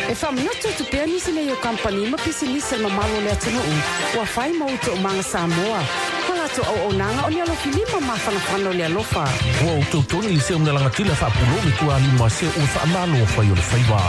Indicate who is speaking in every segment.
Speaker 1: E faamanatu atu pea nisi nei o kamupani ma pisinisi a le mamalu o le atunuu ua fai ma ou toomaga Samoa ma latou auaunaga o ni alofilima mafanafana o le alofa.
Speaker 2: Ua ou tautogi i seu nalagatila faapulou le tualima se ua faamalo fai o le faiva.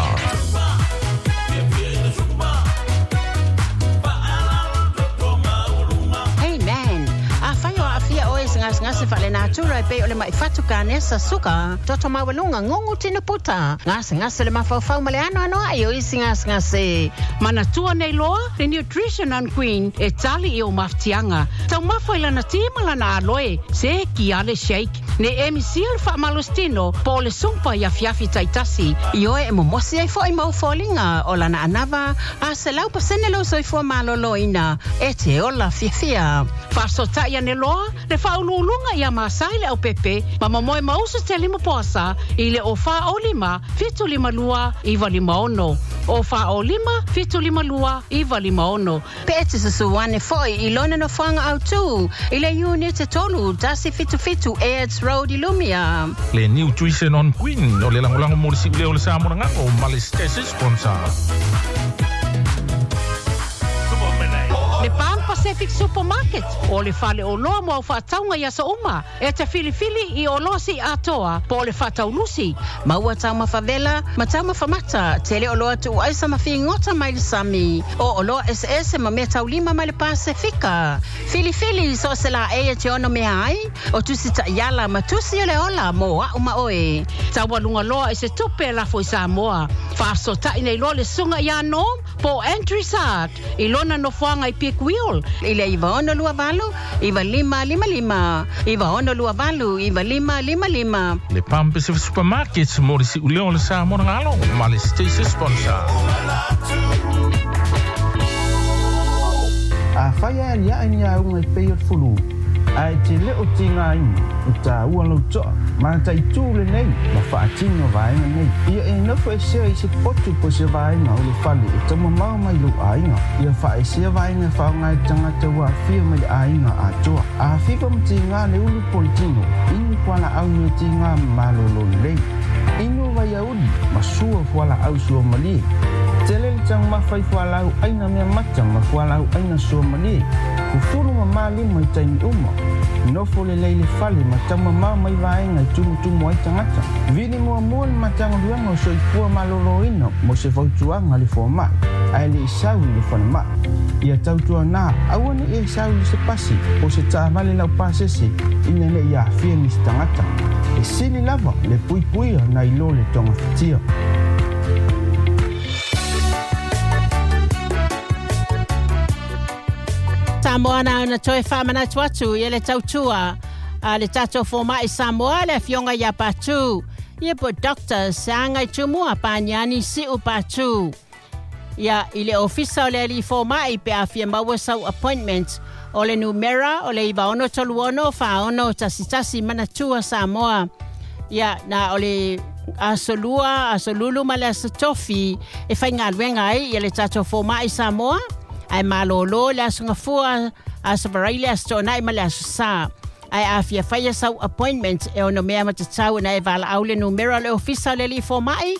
Speaker 3: Hey man, afai o aafia oe i se gasegase faalenatura e pei o le mai fatu kanesa, suka, toto maualuga, gugu tino puta, gasegase o le mafaufau ma le anoanoai o isi gasegase.
Speaker 1: Manatua nei loa le Nutrition on Queen e tali i ou mafatiaga. Taumafa i lana ti ma lana aloe, se ki a le shake. Ne emi sia le faamalositino po o le sumpa i afiafi taitasi.
Speaker 3: Ioe e momosi ai fo'i ma ou foliga o lana anava a 100% lou soifua malōlōina e te ola fiafia.
Speaker 1: Faasoota'i ane loa le faauluuluga ia Masai Leaupepe ma momoe mausu te lima poasa i le 0 4 0 5 752 956, 0 4 0 5 752 956.
Speaker 3: Pe e te susu ane fo'i i lona nofoaga autū i le Iunite 3 177 Airds Road i Lumia.
Speaker 2: Le Nutrition on Queen o le lagolago mo le siuleo o le Samoa Lagago ma le station sponsor.
Speaker 1: Le Pan Pacific Supermarket o le fale oloa mo au faatauga i aso uma e te filifili i oloa siiatoa po o le faataulusi.
Speaker 3: Maua taumafa vela ma taumafa mata, tele oloa tuuaisa ma figota mai le sami, o oloa eseese ma mea taulima mai le Pasefika. Filifili so o se laei e te ono mea ai, o tusi taiala ma tusi o le ola mo a'u ma oe.
Speaker 1: Taualuga loa i se tupe e lafo i Samoa. Faasoota'i nei loa le susuga ia Norm po o Andrew Sard i lona nofoaga i Peak Wheel.
Speaker 3: I le 9628 9555, 9628 9555.
Speaker 2: Le Pan Pacific Supermarket mo le siuleo o le Samoa Lagalo ma le station sponsor.
Speaker 4: Afai e aliae ni auga e pei o le fulu, ae te le o tigaina, e taua lou toa, mataitū lenei ma faatino vaega nei. Ia e nofo esea i se potu po o se vaega o le fale e taumamao mai lou aiga. Ia faaesea vaega e faaaoga e tagata ua aafia mai le aiga atoa. A fiva ma tiga le ulu po o le tino, inu fualaau meatiga ma malōlō lelei. Inu vaiauli ma sua fualaau suamalie. Tele le taumafa i fualaau aina mea mata ma fualaau aina suamalie. Fufulu ma malima i taimi uma. Nofo lelei le fale ma taumamao mai vaega e tumutumu ai tagata. Vili muamua le Matagaluega o Soifua Malōlōina mo se fautuaga a le fomai, ae le i sau i le falemai. Ia tautuanā aua ne i e sau i se pasi po o se taavale laupasese ina ne i aafia nisi tagata. E sili lava le puipuia nai lo le togafitia.
Speaker 3: Samoa na ona toe faamanatu atu ia le tautua a le tatou fomaʻi Samoa le afioga ia Patu ia po Dr Seaga Tumua Paniani Siu Patu ia i le ofisa o le alii fomaʻi pe a fia maua sau appointment. O le numera o le 9636 4611. Manatua Samoa, ia na o le aso Lua, aso Lulu ma le aso Tofi e faigaluega ai ia le tatou fomaʻi Samoa, ae malōlō le aso Gafua, aso Varaile, aso Toonai ma le aso Sā. Ae a fia faia sau appointment e ono mea matatau na e valaau le numera o le ofisa o le alii fomaʻi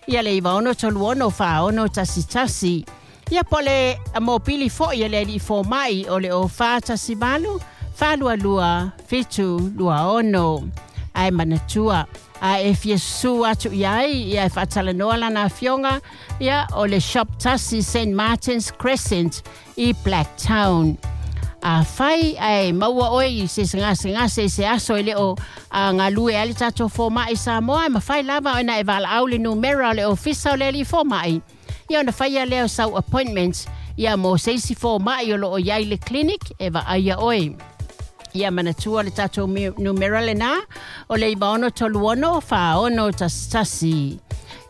Speaker 3: ia le 9636 4611. Ia po le mopili foʻi a le alii fomaʻi o le o 418 422 726. Ae manatua, a e fia susu atu i ai ia e faatalanoa lana afioga, ia o le Shop 1, St Martin's Crescent i Blacktown. Afai ae maua oe i se gasegase i se aso e le o a galue ai le tatou fomaʻi Samoa, e mafai lava ona e valaau le numera o le ofisa o le alii fomaʻi ia ona faia lea o sau appointment ia mo se isi fomaʻi o loo i ai le clinic e vaaia oe. Ia manatua le tatou numera lenā o le 9636 4611.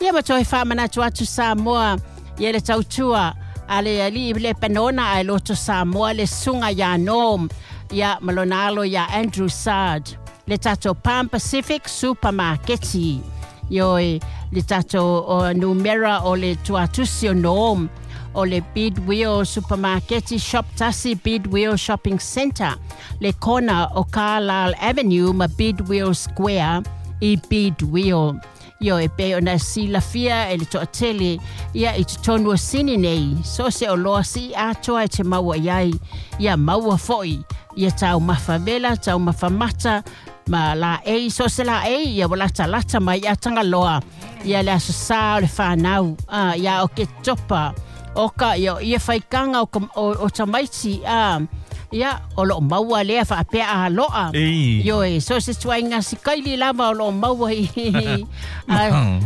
Speaker 3: Ia ma toe faamanatu atu Samoa ia le tautua a le alii le panona ae loto Samoa le susuga iā Norm ia ma lona alo iā Andrew Sard, le tatou Palm Pacific Supermarketi. Ioe, le tatou numera o le tuatusi o Norm o le Bidwell Supermarket, Shop 1, Bidwell Shopping Centre, le kona o Carlisle Avenue ma Bidwell Square i Bidwell. Ioe e pei ona silafia e le toatele ia i totonu o Sini nei, so se oloa sii atoa e te maua i ai, ia maua fo'i, ia taumafa vela, taumafa mata, ma la ei, so se la ei, ia ua latalata mai ia Tagaloa, ia le aso sa o le fanau, ia o Ketopa, oka ia ia faikanga o tamaiti, ia o loo maua lea faapea aloa. Ioe, so se tuaiga sikaili lava o loo maua i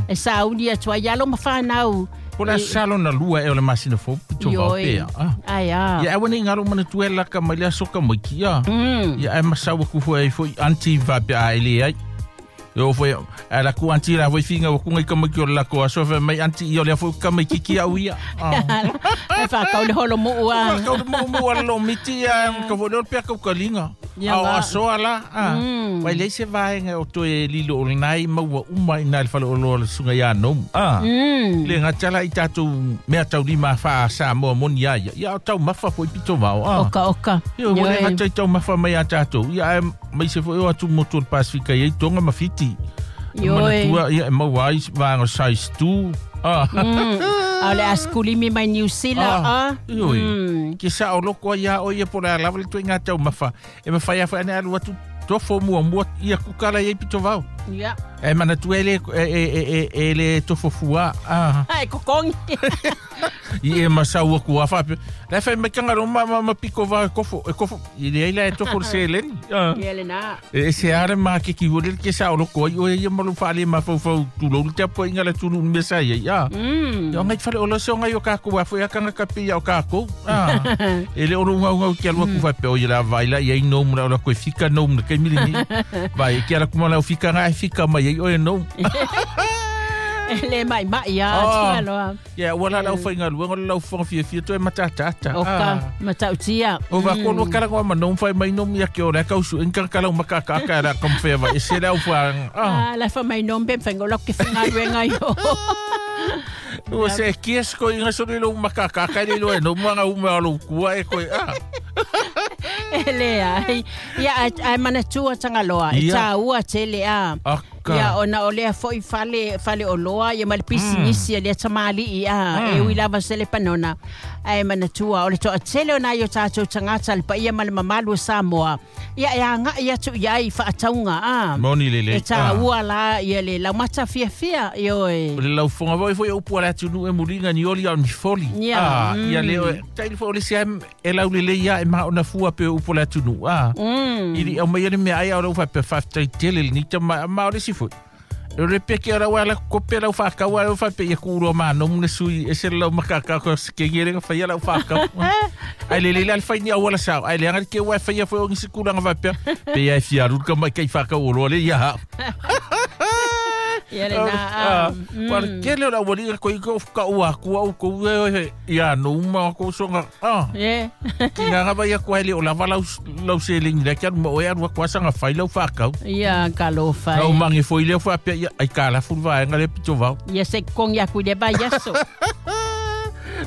Speaker 3: e sauni atu ai alo ma fanau.
Speaker 2: Po le aso sa lona lua ea o le masina fou pito vao pea.
Speaker 3: Ai a.
Speaker 2: Ia aua nei ngalo manatua e laka mai le aso ka maiki ia. Ia ai masau aku foi ai foi aunty faapea a e le ai. Ia foi a la ku aunty la foi finga ku ngai ka maiki o le lako aso fa mai aunty ia o lea foi ka maiki ki au ia.
Speaker 3: Ai whakau le holo muu a.
Speaker 2: Whakau le muu a lo miti ia ka foi leo pea kaukalinga.
Speaker 3: Ia
Speaker 2: A o aso ala. Wai lei se vaenga o toe lilo o lenai maua uma i nā le fale o loa le sunga ia nomu. Le ngata la i tātou mea taulima wha Samoa moni a ia. Ia o taumafa foi pito vao.
Speaker 3: Oka oka.
Speaker 2: Ia o le ngata i taumafa mai a tātou. Ia ai mai se foi o atu motu o le Pasifika i Tonga ma Fiti.
Speaker 3: Ioe.
Speaker 2: Manatua ia e maua ai vaenga size 2.
Speaker 3: A o le askulimi mai New Zealand.
Speaker 2: Ioe. Ke sa o loko ia o ia po le alawa le tui ngā taumafa. E mawhai a whai ane alu atu tofo mua mua ia kukala ia i pito vao.
Speaker 3: Ia.
Speaker 2: E manatua e le tofo fua.
Speaker 3: Ai kokongi.
Speaker 2: I e masau aku a whape. La whai mai kanga ma ma piko vao e kofo. E kofo. I le aila e tofo le seleni.
Speaker 3: Ia le nā.
Speaker 2: E se are mā ke ki hore ke sa o loko ai o ia malu whaale ma whau tūlou le teapo inga le tunu mea sa ia. Ia ngai whare o lase o ngai o kākou a whai akanga kape ia o kākou. E le oro ngau ngau ki alua ku whape o ia la vaila ia i nomu la o la koe fika nomu na kai mili ni. Vai ki ala kumala o fika ngā e fika mai ai o e nomu.
Speaker 3: Le mai mai ia aloa.
Speaker 2: Ia ua la lau whainga luenga lau whanga fia fia toe matatata.
Speaker 3: Oka, matautia.
Speaker 2: O va kono kala ngoa ma whai mai nomu ia ke o le kausu inka kala makakaka la kamwhea vai. E se lau whanga.
Speaker 3: La wha mai nomu pe whainga lok ke whanga luenga yo.
Speaker 2: Ua se kies ko inga sori lo makakaka le lo e nomu anga ume alo kua e koe.
Speaker 3: E lea, ia ai manatua Tagaloa, e tāua tele a. Ia ona o lea foi fale o loa, ia ma le pisinisi ia lea tamali'i a, e ui lava se le panona. Ai manatua, o le toa tele o nai o tātou tangata le paia ma le mamalu o Samoa. Ia e anga ia tu ia i whaataunga a.
Speaker 2: Moni lele.
Speaker 3: E tāua la ia le laumata fiafia, ioe.
Speaker 2: O le laufonga voi foi upu ala tunu e mulinga ni oli au ni foli.
Speaker 3: Ia.
Speaker 2: Ia leo, taili fo o le sea e lau lele ia e maa ona fua pe upu ala tunu. Ili au mai ele mea ai au lau whape whaftai tele ni ta ma o le si foi. O le peke ora wala kope lau whakau lau whape ia kuro ma no mune sui e se lau makaka ko ke ngere nga whaia lau whakau. Ai le le le whai ni awala sao. Ai le anga ke wai whaia whai ongi sikura nga whapea. Pe ia e fiaru ka mai kei whakau o roa le ia.
Speaker 3: Ia le nā.
Speaker 2: Wala ke leo la wali ko i ko ka ua kua au ko ue ia no uma ko songa. Ki ngā ngā vai aku hele o lava lau selingi la kia ma oe arua kua sanga whai lau whakau.
Speaker 3: Ia ka lo whai.
Speaker 2: Nau mangi foi leo whapea ia ai ka la fulu vaenga le pito vau.
Speaker 3: Ia se kongi aku le vai aso.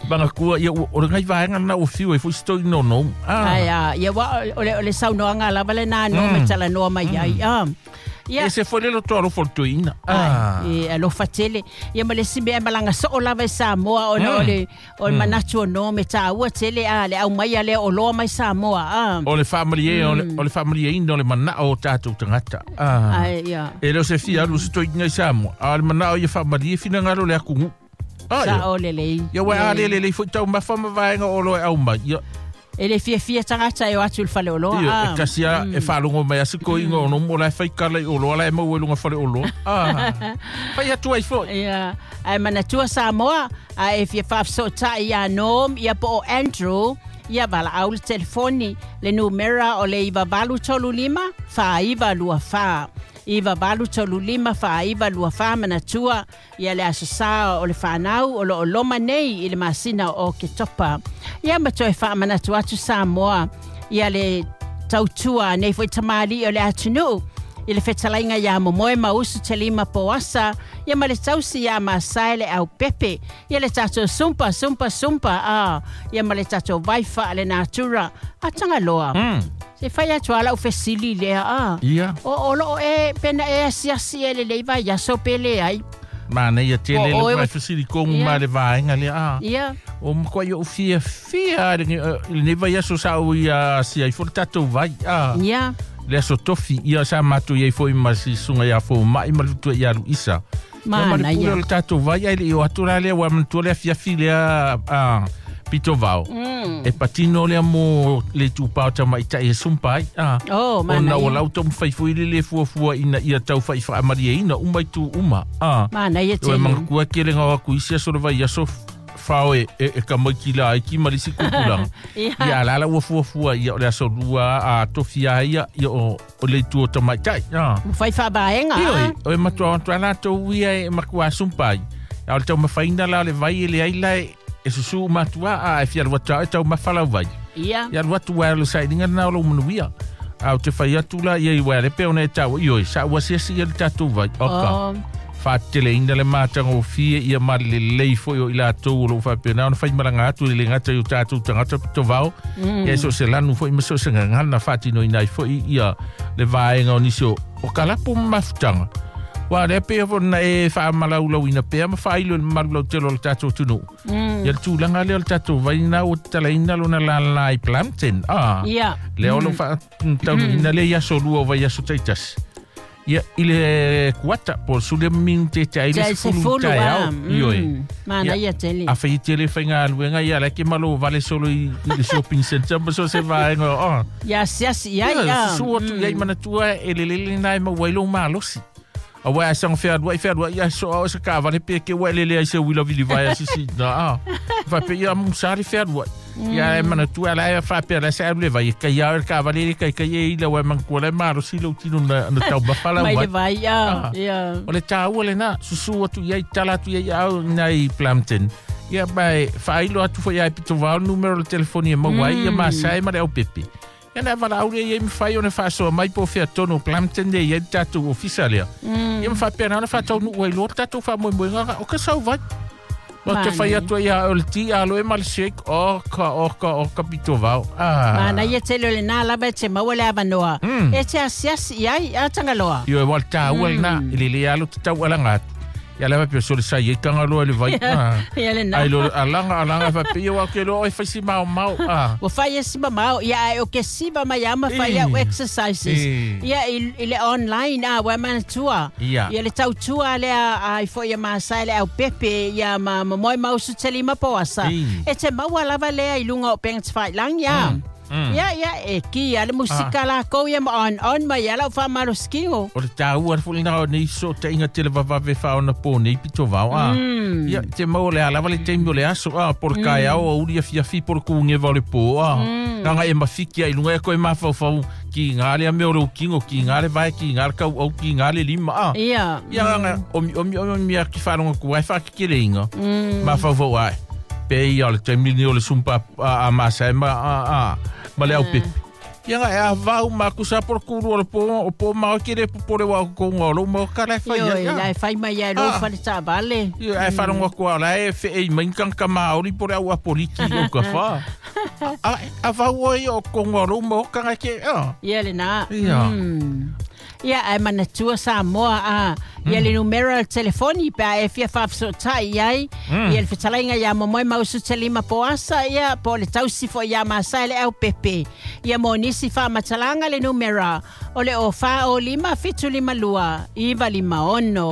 Speaker 2: Banga kua ia o ngai vaenga na o fiu e foi stoi no no.
Speaker 3: Ai a ia wa o le saunoanga lava le nā no me tala noa mai ai.
Speaker 2: Ia. E se foi lelo toa alofa le toeina.
Speaker 3: E alofa tele. Ia ma le si mea malanga soo lava i Samoa ona o le manatu o no me tāua tele a le au mai a le o loa mai Samoa.
Speaker 2: O le whaamalie, o le whaamalie ina o le manao o tātou tangata.
Speaker 3: Ai, ia.
Speaker 2: E leo se fia alu se toeina i Samoa. A le manao ia whaamalie whina le akungu.
Speaker 3: Sa o le lei.
Speaker 2: Ia wai a le le lei foi tau mawha mawaenga o loe au mai. Ia.
Speaker 3: E le fia fia tangata e o atu le fale o loa.
Speaker 2: Ia, e kasi a e whalongo mai a siko ingo o nomo lai whai kala i o loa lai mau e lunga fale o loa. Whai atu ai foi.
Speaker 3: Ia, ai manatua Samoa, a e fia whaafsotai ia nom, ia po o Andrew, ia wala au le telefoni, le numera o le 9835 4924. 9835 4924 manatua ia le aso sa o le whanau o lo o loma nei i le masina o Ketopa. Ia matoe wha manatua atu Samoa ia le tautua nei foi tamali o le atunuu i le fetalainga ia momoe mausu te lima poasa ia ma le tausi ia masai le au pepe ia le tatou sumpa sumpa sumpa ia ma le tatou vaifa le natura a Tagaloa. E fai atu ala o fesili lea a.
Speaker 2: Ia.
Speaker 3: O lo e pena e asiasi e le leiva ia so pele ai.
Speaker 2: Mana ia tele le mai fesili kongu ma le vaenga le a.
Speaker 3: Ia.
Speaker 2: O makoa i o fia fia le neva ia so sa o ia si ai fo tatou vai a.
Speaker 3: Ia.
Speaker 2: Le aso tofi ia sa matu ia foi ma si sunga ia fo mai ma le tua ia Luisa.
Speaker 3: Mana ia.
Speaker 2: Le tatou vai ai le o atura le wa mantua le fia fi le a pito vao. E patino le mo le tupao ta mai tai e sumpai a.
Speaker 3: Oh, mana.
Speaker 2: Ona o lau tom fai foi le fuafua ina ia tau fai fa amarie ina uma itu uma a.
Speaker 3: Mana ia te.
Speaker 2: O mangua ke le ngawa ku isia so vai ia so fao e ka mai ki la ki malisi kupulanga. Ia la la ua fuafua ia o le aso lua a tofia ia ia o le tu o tamai tai.
Speaker 3: Fai fa vaenga.
Speaker 2: Ia o e matua antua la tau ia e makua sumpai. Ia o le tau mawhaina la o le vai e le ai la e susu matua a e fia lua tau e tau mawhalau vai.
Speaker 3: Ia.
Speaker 2: Ia lua tua e lo saidinga na o lo manuia. A o te whai atu la ia i wea le pe ona e tau ioi sa ua siasi ia le tatou vai. Oka. Whaatele ina le mātanga o fie ia ma le lei foi o ila tau o lo whapena ona whai maranga atu le ngata i o tātou tangata pito vao. Ia so se lanu foi ma so se ngangana whaatino inai foi ia le vaenga o nisi o kalapo mafutanga. Wa le pe fo na e whaamalaulau ina pea ma whailo le malulau telo o le tātou tunu. Ia le tūlanga leo le tātou vaina o talaina lona la la i Plumpton.
Speaker 3: Ia.
Speaker 2: Le olo whaataunu ina le ia solua o vai aso taitas. Ia i le kuata po sule min te te ai le sefulu tai au. Ioi.
Speaker 3: Mana ia tele.
Speaker 2: A whai tele whainga aluenga ia la ke malo vale solo i le shopping center ma so se vaenga o.
Speaker 3: Ia siasi ia ia.
Speaker 2: Susu atu ia i manatua e lelele nai ma wailo malosi. A wai a sang wheadua i wheadua ia so au se ka vale pe ke wai lele ai se wila vili vai a sisi na a. Whai pe ia musari wheadua. Ia e manatua la e whapea la se alu le vai. Kai au e ka vale le kai kai e ila wai mangkua le malosi lau tino na tau mawhala
Speaker 3: wai. Mai le vai ia.
Speaker 2: O le tāua le nā susu atu ia i tala atu ia au nai Plumpton. Ia mai whailo atu fo ia e pito vao numero le telefoni e mauai ia masai ma le au pepe. Ia na wala aure ia mwhai o na whaasoa mai po whia tono Plumpton le ia tātou ofisa lea. Ia mwhapea na whatau nuu ai loa tātou wha moe moe ngaka o ka sau vai. No te whai atua ia o le ti alo e male shake o ka pito vao.
Speaker 3: Mana ia tele o le nā lava e te maua le awanoa. E te asiasi iai a tangaloa.
Speaker 2: Io e wale tāua le nā i le le alo te tau alanga atu. Ia lava pio so le sai e tangaloa le vai.
Speaker 3: Ia le nā.
Speaker 2: Ai lo alanga alanga wha pio au ke lo oi whaisi mau mau.
Speaker 3: Wa whai e siva mau ia ai o ke siva mai ama whai au exercises. Ia i le online a wa manatua.
Speaker 2: Ia
Speaker 3: le tautua le a i fo ia masai le au pepe ia ma moe mausu tele ma poasa. E te maua lava lea i lunga o penga te whai ia. Ia ia e ki ia le musika la kou ia ma on ma ia lau wha maroskingo.
Speaker 2: O le tāua le nā o nei so te inga tele vavave wha ona pō nei pito vao a. Ia te mau le alawa le teimi o le aso a por kai au o uri a fiafi por kuungewa o le pō a. Nganga e mawhiki a i lunga e koe mawhauwhau ki ngā le ame o le ukingo, ki ngā le vai, ki ngā le kau au, ki ngā le lima a.
Speaker 3: Ia.
Speaker 2: Ia nganga omi omi omi a ki whanonga kuai whakikere inga. Mawhauwhau ai. Pe ia le teimi ni o le sumpa a masai ma a ma le au pepe. Ia ngā e a vau makusa por kuru o le pō o pō mau kere popore wa ko ngā lo mau ka lai whai
Speaker 3: ia. Ioi, lai whai mai ia lo whare tā vale.
Speaker 2: Ia e wharonga kua la e whei mainkang ka maori por au apoliki o ka wha. A vau oi o ko ngā lo mau ka ngā ke.
Speaker 3: Ia le nā.
Speaker 2: Ia.
Speaker 3: Ia e manatua Samoa a ia le numero o telefoni pe e fia whawhisotai ai ia le whetalainga ia momoe mausu te lima poasa ia po le tausi fo ia masai le au pepe ia mo nisi whamatalanga le numero o le o wha o lima fitu lima lua iwa lima ono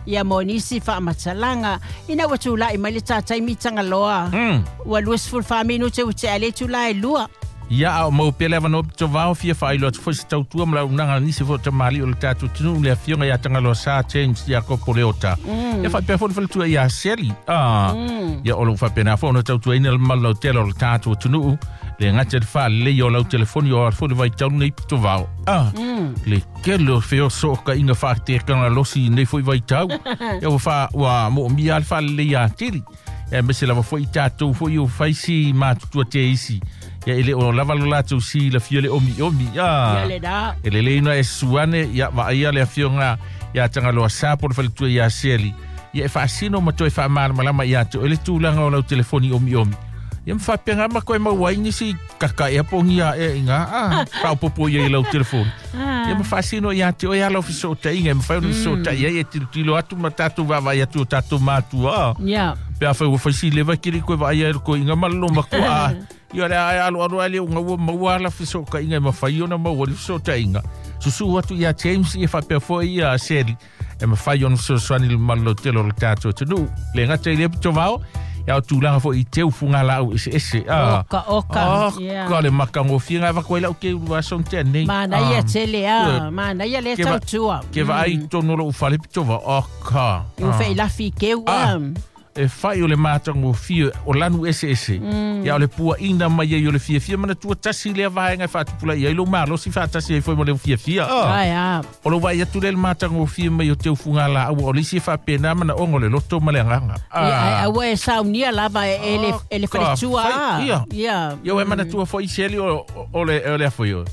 Speaker 3: ia mo nisi whamatalanga ina ua tūlai mai le tātai mitanga loa ua luesful whaminu te ute ale tūlai lua.
Speaker 2: Ia au mau pele awano pito vao fia whailo atu fo se tautua mla unanga nisi fo tamali o le tātou tunu le afionga ia tangaloa sa James ia kopo le ota. Ia whaipea fo le whaletua ia seli. Ia o lo whapena fo ona tautua ina le malau tele o le tātou tunu le ngata le wha le o lau telefoni o alfo le vai taunu nei pito vao. Le kele o whio so ka inga whaatekanga losi nei fo i vai tau. Ia wha mo mia le wha le ia tiri. Ia mese lava fo i tātou fo i o whaisi mātutua te isi. Ia ele o lava lo lātou si la fia le omi omi.
Speaker 3: Ia le nā.
Speaker 2: Ele le ina e suane ia vaia le afionga ia tangaloa sa po le whaletua ia seli. Ia e whaasino ma toe whaamalamalama ia te o le tūlanga o lau telefoni omi omi. Ia ma faapea ma koe maua ai nisi kakaʻi apogia aʻe iga a faaopopo ia i lau telefoni. Ia ma faasino iā te oe ala o fesootaiga e mafai ona fesootai ai e tilotilo atu ma tatou vaavaai atu o tatou matua. Pe afai ua faisi leva kili koe vaai ai le koiga ma le lomatua a. Ia le ae aloalo ai le uga ua maua ala fesootaiga e mafai ona maua le fesootaiga. Susu atu ia James ia faapea foi ia Seli e mafai ona fesoasoani le malolotele o le tatou atunuu. Le gata i lea pitovao, ia o tulaga foi i teu fugalau eseese.
Speaker 3: Oka, oka.
Speaker 2: Oka le makagofie ga avatu ai lau ke ulu aso tea nei.
Speaker 3: Manaia tele a, manaia le tautua.
Speaker 2: Ke vaai tonu o lou fale pitova, oka.
Speaker 3: Ua feilafi i keu a.
Speaker 2: E fai o le matagofie o lanu eseese. Ia o le puaʻina mai ai o le fiafia manatua tasi lea vaega e faatupulaia ai lou malosi faatasi ai foi ma le fiafia.
Speaker 3: Ai a.
Speaker 2: O lou vaai atu lea le matagofie mai o teu fugalaau o le isi e faapena manaoga o le loto ma le agaga.
Speaker 3: Ia aua e saunia lava e le e le faletua.
Speaker 2: Ia.
Speaker 3: Ia.
Speaker 2: Ia ua e manatua foi Seli o le o le afoi o.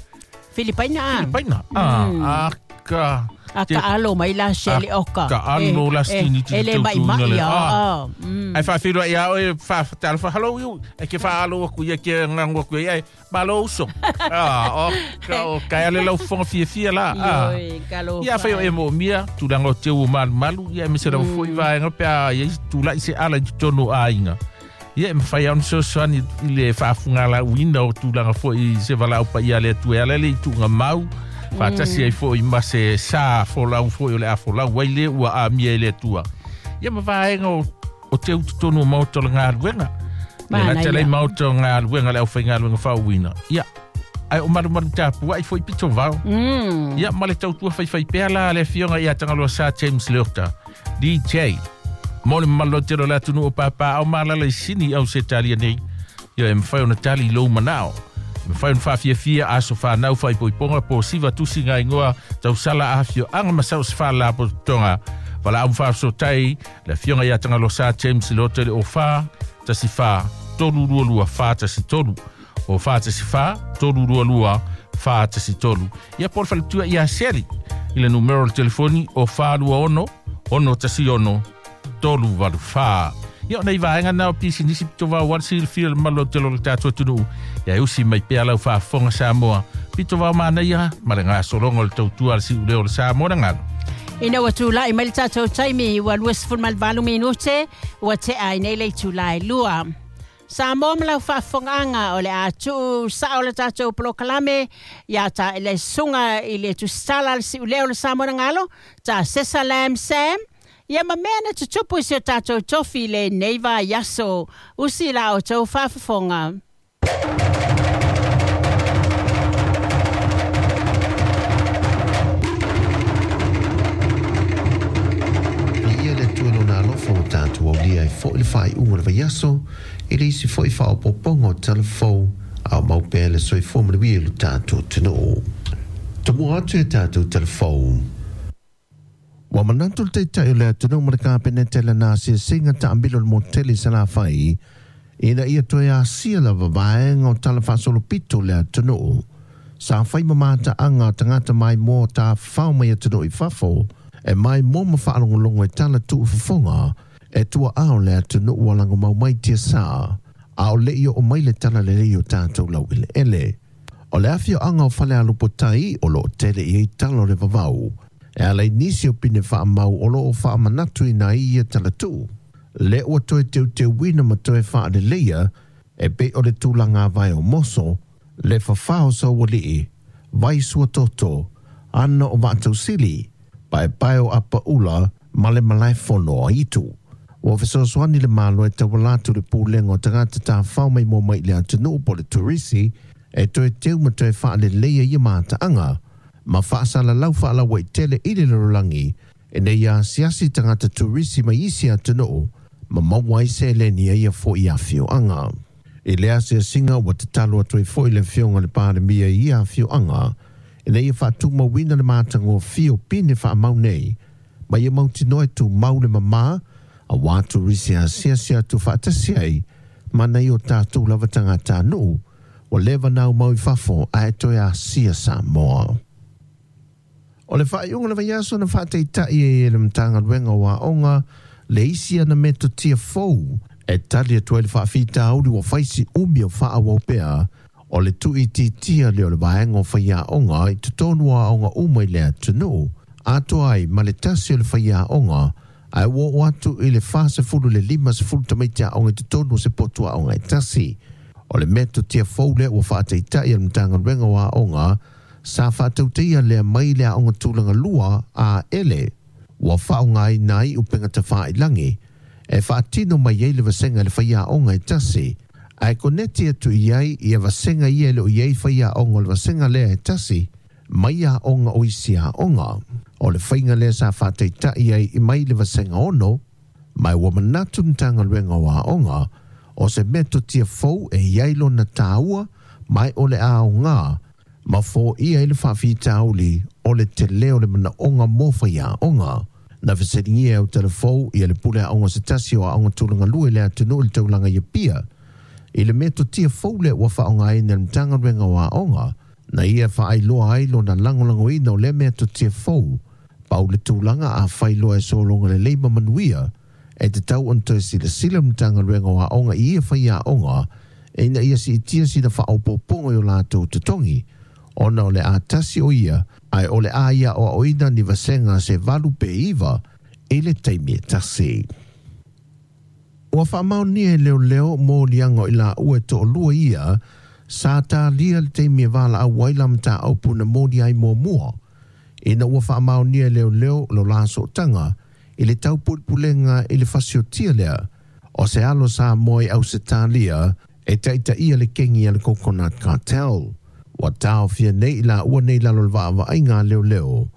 Speaker 3: Filipaina.
Speaker 2: Filipaina. Ah, aka.
Speaker 3: A ka alo mai la Seli oka.
Speaker 2: Ka alo la stini
Speaker 3: E le mai mai a.
Speaker 2: Ai faafeiloai ia oe faafatalofa hello you. E ke faalo aku ia ke ngago aku ia malo uso. Ah, oka o ka ale lau fofoga fiafia la.
Speaker 3: Ioe, kalo.
Speaker 2: Ia fai o e moomia tulaga o teu o malumalu ia aemaise lava foi vaega pe a iai tulaʻi se ala i totonu o aiga. Ia e mafai lava ona fesoasoani i le faafugalauina o tulaga foi i se valaau paia a le Atua e ala le i tuugamau faatasi ai foi ma se sa folau foi o le a folau ai le ua amia e le Atua. Ia ma vaega o teu totonu o maota o le galuega. Le gata lea i maota o galuega le aufaigaluega faauuina. Ia, ae o malumalu tapuai foi pito vao. Ia, ma le tautua faifaipea la a le afioga ia Tagaloa Sā James Leota, DJ. Mo le mamalu lautele o le atunuu o Pāpāao ma alaala i Sini i Ausetalia nei. Ia e mafai ona tali i lou manao. E mafai ona faafiafia aso whanau whaipoiponga po siva tusi ngā ingoa tausala afioaga ma sau se faalapotopotoga. Valaau ma faafesootai le afioga ia Tagaloa Sā James Leota i le 04 14 322 413. O 4 14 322 413. Ia po o le faletua ia Seli i le numero o le telefoni o 426 616 384. Ia o nei vaega na o pisinisi pito vao ua le silafia le mamalu lautele o le tatou atunuu. Ia e usi mai pea lau faafofoga Samoa. Pito vao manaia ma le gasologa o le tautua a le siuleo o le Samoa na galu.
Speaker 3: Ina ua tulai mai le tatou taimi ua 28 minute ua tea ai nei le itula e 2. Samoa ma lau faafofogaaga o le a tuu sao le tatou polokalame ia ta le susuga i le tusitala a le siuleo o le Samoa na galo, ta Sesa Lam Sam, ia ma mea na tutupu i si o tatou tofi i lenei vaiaso. Usi la outou faafofoga.
Speaker 5: Viia le Atua i Lona alofa ua tatou aulia ai foi le faaiuga o le vaiaso i le isi foi faaopoopoga o tala fou a o mau pea le soifua manuia i lo tatou atunuu. Tomua atu i a tatou tala fou. Ua manatu le Taitai o le atunuu ma le Kapeneta i lana asiasiga taamilo i le motu tele i Salafai ina ia toe asia lava vaega o tala faasolopito o le atunuu sa fai ma mataaga a tagata maimoa tafafao mai atunuu i fafo e maimoa ma faalogologo i tala tuufofoga e tuaao le atunuu ua lagomau mai tiasa a o le i oo mai le tala lelei o tatou laueleele. O le afioaga o Falealupotai o loo tele i ai tala o le vavau e ala i nisi o pine faamau o loo faamanatuina ai ia talatuu le ua toe teuteuina ma toe faaleleia e pei o le tulaga avae o moso, le fafā o Saualii, vai suatoto, ana o Vaatausili, paepae o Apaula ma le malaefono o Aitu. Ua fesoasoani le Malo e tauala atu i le Pulega o Tagata Tafafao Maimoa Mai i le Atunuu po o le Turisi e toe teu ma toe faaleleia ia mataaga ma faasalalau faalauaitele i le lalolagi ina ia asiasi tagata turisi mai isi atunuu ma maua ai seleni a ia foi afioaga. I le asiasiga ua tatalo atu ai foi le Afioga i le Palemia i ia afioaga ina ia faatumauina le matagofie o pine faamau nei ma ia mautinoa e tumau le mamā auā turisi e asiasi atu faatasi ai ma nai o tatou lava tagatanuu ua leva ona aumau i fafo ae toe asia Samoa. O le faaiuga o le vaiaso na faataitai ai e le Matagaluega o Aoga le isi ana metotia fou E tali atu ai le faafitauli ua faisi umi o faaauau pea o le tuuitiitia lea o le vaega o faiaoga i totonu o aoga uma i le atunuu, atoa ai ma le tasi o le faiaoga ae ua oo atu i le 40 i le 50 tamaiti aoga i totonu o se potu aoga e tasi. O le metotia fou lea ua faataitai e le Matagaluega o Aoga sa faatautaia lea mai le aoga tulaga lua a ele ua faaaogaina ai upega tafailagi e faatino mai ai le vasega i le faiaoga e tasi ae koneti atu i ai ia vasega ia e le o i ai faiaoga o le vasega lea e tasi mai aoga o isi aoga. O le faiga lea sa faataitai ai i mai le vasega 6, ma ua manatu le Matagaluega o Aoga o se metotia fou e i ai lona tāua mai o le aoga ma foia ai le faafitauli o le tele o le manaoga mo faiaoga. Na fesiligia e Autalavou ia le pule aoga se tasi o aoga tulaga lua i le atunuu i le taulaga i Apia i le metotia fou lea ua faaaogaina e le Matagaluega o Aoga na ia faailoa ai lona lagolagoina o lea metotia fou pau le tulaga afai loa e sologa lelei ma manuia e tatau ona toe silasila le Matagaluega o Aoga i ia faiaoga ina ia siitia sina faaopoopoga i o latou totogi ona o le a tasi o ia ae o le a ia aoaoina ni vasega se 8 pe 9 i le taimi e tasi. Ua faamaonia e leoleo moliaga o i laua e toalua ia sa talia le taimi e valaau ai la mataupu na moli ai muamua ina ua faamaonia e leoleo lo la sootaga i le taupulepulega i le fasiotia lea o se alo Samoa i Ausetalia e taitaia le kengi a le Coconut Cartel. Ua taofia nei i laua nei i lalo o le vaavaaiga a leoleo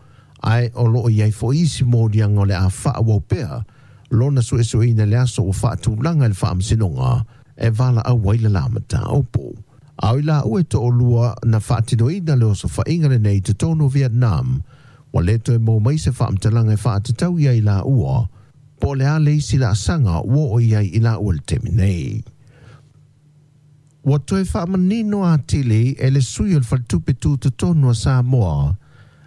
Speaker 5: ae o loo i ai foi isi moliaga o le a faaauau pea lona suesueina i le aso ua faatulaga i le faamasinoga e valaau ai le la mataupu. A o i laua e toalua na faatinoina le osofaiga lenei i totonu o Vietnam, ua le toe maua mai se faamatalaga e faatatau i ai i laua po o le a le isi laasaga ua oo i ai i laua i le taimi nei. Ua toe faamanino atili e le sui o le Faletupe Tutotonu a Samoa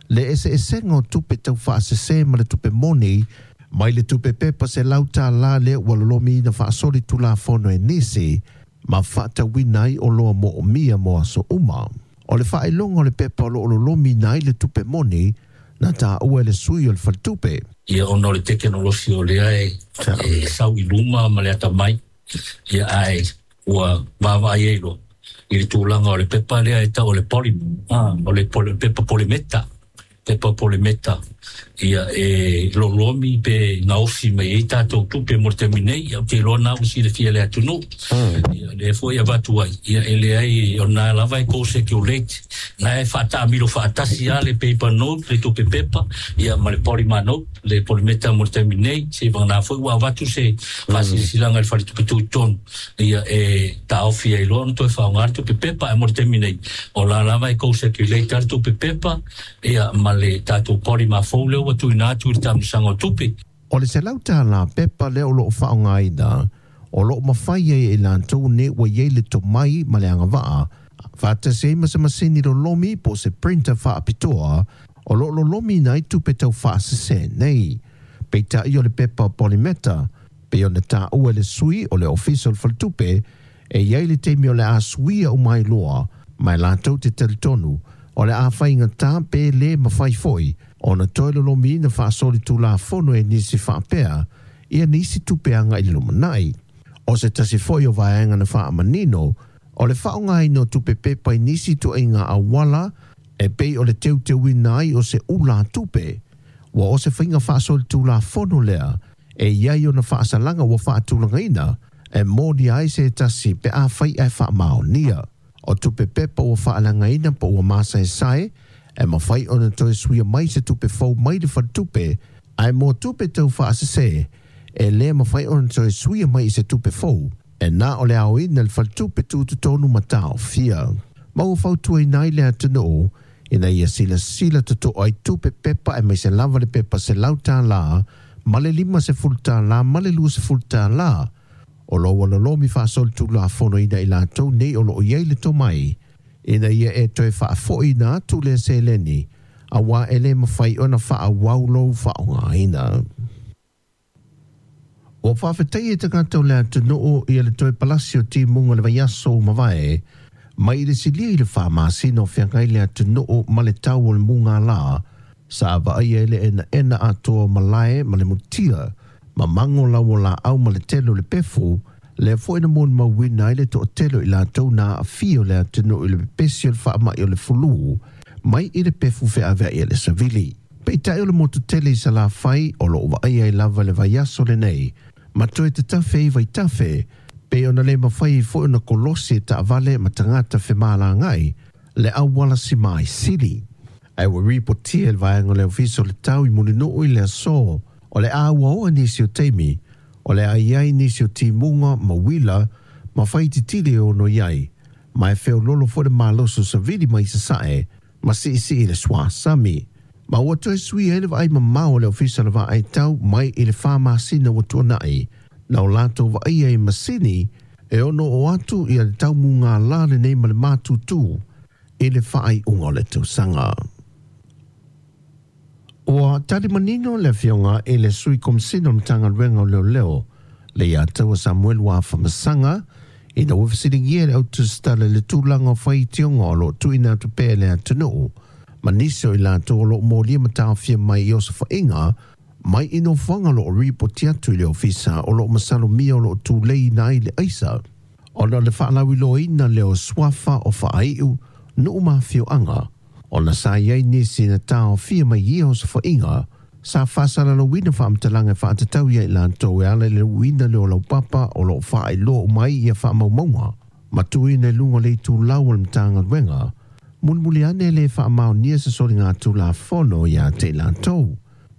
Speaker 5: le eseesega o tupe taufaasese ma le tupe moni mai le tupe pepa $100 lea ua lolomiina faasolitulafono e nisi ma faatauina ai oloa moomia mo aso uma. O le faailoga o le pepa o loo lolomiina ai le tupe moni na taua e le sui o le Faletupe.
Speaker 6: Ia ona o le tekenolosi o lea e sau i luma ma le atamai, ia ae ua vaavaai ai loa i le tulaga o le pepa lea e tau o le polymer, o le pepa polimeta, pepa polimeta, ia e lolomi pe gaosi mai ai tatou tupe mo le taimi nei. Ia ou te iloa na ua silafia e le atunuu, ia lea foi e avatu ai, ia e leai o lena lava e co-circulate, na e faataamilo faatasi lava le paper note, le tupe pepa, ia ma le polymer note, le polimeta mo le taimi nei. Seivagana foi ua avatu se faasilasilaga i le faletupe tutotonu, ia e taofi ai loa ona toe faaaoga le tupe pepa. Ae mo le taimi nei, o la lava e co-circulate le tupe pepa, ia ma le tatou polymer fou lea ua tuuina atu i le taamilosaga o tupe.
Speaker 5: O le $100 pepa lea o loo faaaogaina, o loo mafai ai e i latou nei ua i ai le tomai ma le agavaa faatasi ai ma se masini lolomi po o se printer faapitoa o loo lolomiina ai tupe taufaasese nei. Peitai o le pepa polimeta, pei ona taua e le sui o le Ofisa o le Faletupe, e i ai le taimi o le a suia uma ai loa, ma e latou te talitonu o le a faigata pe le mafai foi ona toe lolomiina faasolitulafono e nisi faapea ia nisi tupe agai i le lumanai. O se tasi foi o vaega na faamanino o le faaaogaina o tupe pepa i nisi ituaiga auala e pei o le teuteuina ai o se ula tupe. Ua o se faiga faasolitulafono lea e i ai ona faasalaga ua faatulagaina e molia ai se tasi pe afai ae faamaonia. O tupe pepa ua faalagaina po ua masaesae e mafai ona toe suia mai se tupe fou mai le faletupe, ae mo tupe taufaasese e le mafai ona toe suia mai i se tupe fou e na o le aoina i le faletupe tutotonu ma taofia. Ma ua fautuaina ai le atunuu ina ia silasila totoa i tupe pepa aemaise lava le pepa $100 ma le $50 ma le $20 o lo o ua lolomi faasolitulafonoina i latou nei o loo i ai le tomai ina ia e toe faafoiina atu lea seleni auā e le mafai ona faaauau lou faaaogaina. Ua faafetaia e tagata o le atunuu ia le toe palasi o timuga i le vaiaso ua mavae, mai i le silia i le 4 masina o feagai le atunuu ma le tau o le mugālā, sa vaaia ai le enaena atoa o malae ma le mutia, ma mago lau o laau ma le tele o le pefu, lea foi na molimauina ai le toatele o i latou na aafia o le atunuu i le pepesi o le faamai o le fulū, mai i le pefu feaveai a le savili. Peitai o le motu tele i Salafai o loo vaaia ai lava le vaiaso lenei, ma toe tatafe ai vaitafe, pe ona le mafai foi ona kolosi e taavale ma tagata femalagaai le auala simai sili. Ae ua ripotia e le vaega o le Ofisa o le Tau i Mulinuu i le aso, o le a uaoa nisi o taimi, o le a i ai nisi o timuga ma uila ma faititili e ono i ai, ma e feololo foi le malosi o savili mai sasae ma siisii le suasami. Ma ua toe suia ai le vaai mamao o le Ofisa o le Vaai Tau mai i le 4 masina ua tuanai, na o latou vaaia i masini e ono o atu ia le tau mugālā lenei ma le matutu i le faaiuga o le tausaga. Ua tali manino le afioga i le sui komisina o le Matagaluega o Leoleo le ia taua Samuel Wafamasaga ina ua fesiligia e le autusitala le tulaga o faitioga o loo tuuina atu pea i le atunuu ma nisi o i latou o loo molia ma taofia mai i osofaiga mai i nofoaga o loo ripoti atu i le ofisa o loo masalomia o loo tuleiina ai le aisa ona o le faalauiloaina lea o suafa o faaiu nuu ma afioaga ona sa i ai nisi na taofia mai ia osofaiga sa faasalalauina faamatalaga e faatatau ia i latou e ala i le uina lea o laupapa o loo faailoa uma ai ia faamaumauga ma tuuina i luga o le itulau o le Matagaluega mulimuli ane le faamaonia se soligatulafono ia te i latou.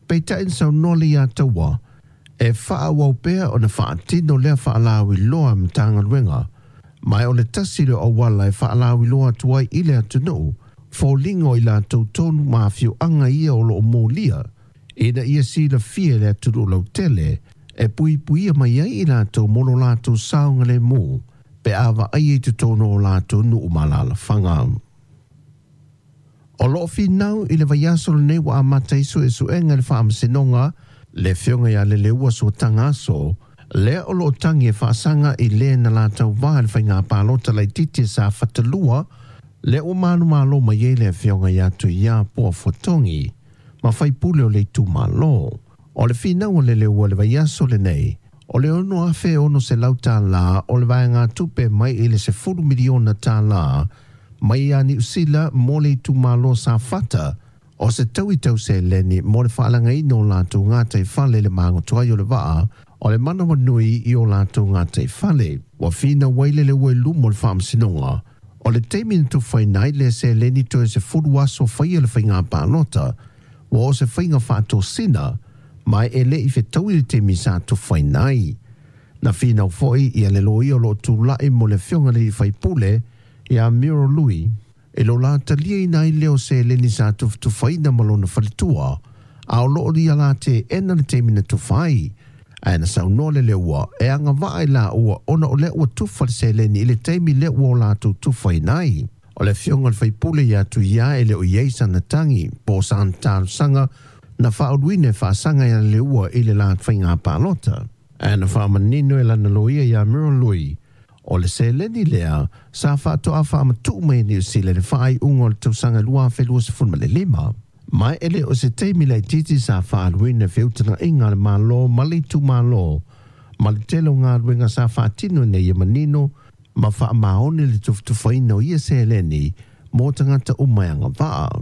Speaker 5: Peitai na saunoa le ia taua e faaauau pea ona faatino lea faalauiloa a Matagaluega, ma o le tasi lea o auala e faalauiloa atu ai i le atunuu foliga o i latou tonu ma afioaga ia o loo molia ina ia silafia e le atunuu lautele e puipuia mai ai i latou mo lo latou saogalemu pe a vaaia i totonu o latou nuu ma alaalafaga. O loo finau i le vaiaso lenei ua amata ai suesuega i le faamasinoga le afioga ia Leleua Suataga Aso, lea o loo tagi e faasaga i le na latauvā i le faiga palota laitiiti a Safata 2, lea ua manumalo mai ai le afioga ia Tuia Poa Fuatogi ma faipule o le itumalo. O le finau a Leleua i le vaiaso lenei, o le $6,600 o le vaegatupe mai i le $10 miliona mai ia Niu Sila mo le itumalo Safata o se taui tau seleni mo le faalagaina o latou gataifale i le magoto ai o le vaa o le manawanui i o latou gataifale. Ua finau ai Leleua i luma o le faamasinoga o le taimi na tufaina ai le seleni toe 10 aso faia le faiga palota ua o se faiga faatosina ma e le i fetaui le taimi sa tufaina ai. Na finau foi ia le loia o loo tulai mo le afioga i le faipule ia Miro Lui e lo la taliaina ai lea o seleni sa tufatufaina ma lona faletua a o loo ia la teena le taimi na tufa ai. Ae na saunoa Leleua e agavaa i laua ona o lea ua tufa le seleni i le taimi lea ua o latou tufaina ai. O le afioga i le faipule ia Tuia e le o i ai sana tagi po o sana talosaga na faauluina e faasaga ia Leleua i le la faiga palota. Ae na faamanino e lana loia ia Miro Lui o le seleni lea sa faatoa faamatuu mai e Niu Sila i le faaiuga o le tausaga 2025. Ma e le o se taimi laitiiti sa faaluina feutagaiga a le Malo ma le itumalo ma le tele o galuega sa faatino ina ia manino ma faamaoni le tufatufaina o ia seleni mo tagata uma e agavaa.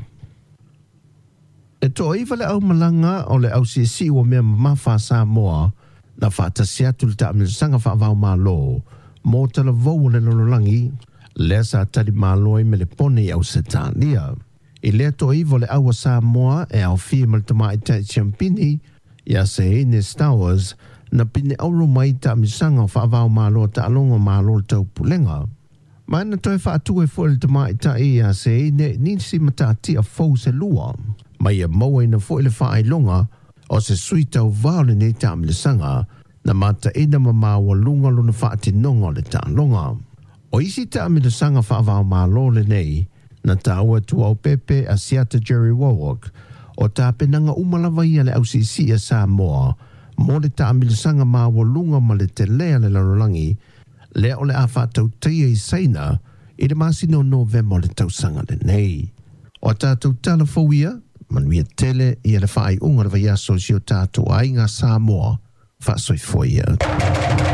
Speaker 5: E 9 le aumalaga o le ausiisii ua mea mamafa a Samoa na faatasi atu i le taamilosaga faava-o-Malo mo talavou o le lalolagi lea sa talimalo ai Melepone i Ausetalia. I lea 9 o le au a Samoa e aofia ma le tamaitai siampini ia Seine Stowers na pine auro mai taamilosaga o faava-o-Malo a taaloga o Malo o le Taupulega. Ma na toe faatu ai foi le tamaitai ia Seine nisi matatia fou se lua. Ma ia mauaina foi le faailoga o se sui tauvā o lenei taamilosaga na mataina ma maualuga lona faatinoga o le taaloga. O isi taamilosaga faava-o-Malo lenei na taua Tuaopepe Asiata Jerry Warwick o tapenaga uma lava ia le ausiisii a Samoa Mo le taamilosaga maualuga ma le telē a le lalolagi, lea o le a faatautaia i Saina i le masina o Novema o le tausaga lenei. O a tatou tala fou ia, manuia tele ia le faaiuga o le vaiaso i si o tatou aiga Samoa. Faasoifua ia.